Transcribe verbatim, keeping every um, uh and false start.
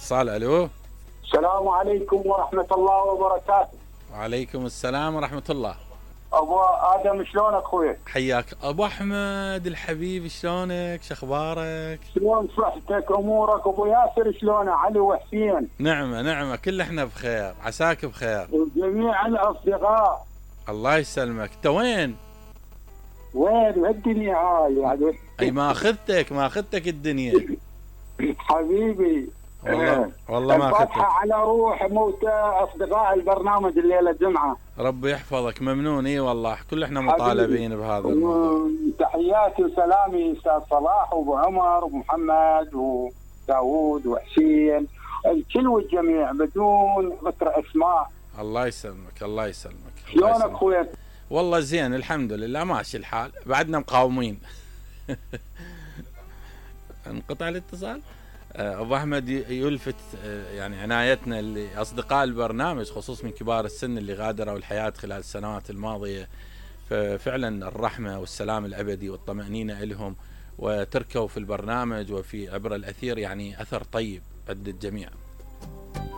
اتصال. الو. السلام عليكم ورحمة الله وبركاته. وعليكم السلام ورحمة الله. ابو ادم شلونك اخوي؟ حياك ابو احمد الحبيب، شلونك؟ شخبارك؟ شلون صحتك امورك؟ ابو ياسر شلونه؟ علي وحسين؟ نعمة نعمة، كل احنا بخير، عساك بخير. وجميع الاصدقاء. الله يسلمك. انت وين؟ وين الدنيا هاي يعني؟ اي ما اخذتك ما اخذتك الدنيا حبيبي. والله والله ما اخذتك. على روح موتى اصدقاء البرنامج الليله الجمعه. ربي يحفظك، ممنون. اي والله كل احنا مطالبين بهذا الموضوع. تحياتي وسلامي استاذ صلاح وابو عمر ومحمد وداوود وحسين، الكل والجميع بدون ذكر اسماء. الله يسلمك الله يسلمك. شلونك اخوي؟ والله زين الحمد لله، ماشي الحال، بعدنا مقاومين. انقطع الاتصال. ابو احمد يلفت يعني عنايتنا لاصدقاء البرنامج، خصوص من كبار السن اللي غادروا الحياه خلال السنوات الماضيه، ففعلا الرحمه والسلام الابدي والطمانينه لهم، وتركوا في البرنامج وفي عبر الاثير يعني اثر طيب عند الجميع.